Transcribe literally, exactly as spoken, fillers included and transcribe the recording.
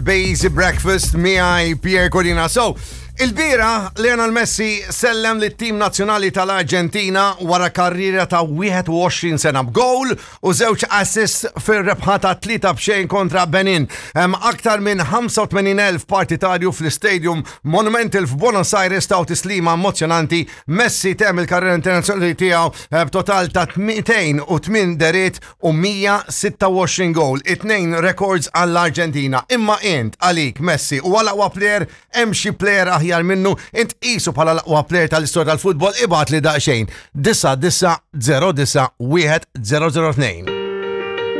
Basic Breakfast miegħi Pierre Codina. So, il-bieraħ Lionel Messi sellem lit-tim nazzjonali tal-Arġentina wara karriera ta' wieħed u għoxrin sena b'goal u żewġ assist fil-rebħa ta' tlieta b'xejn kontra Benin. Hemm aktar minn ħamsa u tmenin elf partitarju fl-Stadium Monumental f'Buenos Aires taw tislima emozjonanti. Messi temm il-karriera internazzjonali tiegħu eh, b'total ta' mitejn u tmien dehriet u mija u sitta u għoxrin goal, it-tnejn records għall-Arġentina. Imma int għalik Messi huwa l-aqwa player, hemm xi player aħjar minnu, int tqisu bħala l-aqwa player tal-istorja tal-futbol? Ibgħatli daqsxejn. Disa disa zero disa wieħed zero zero tnejn.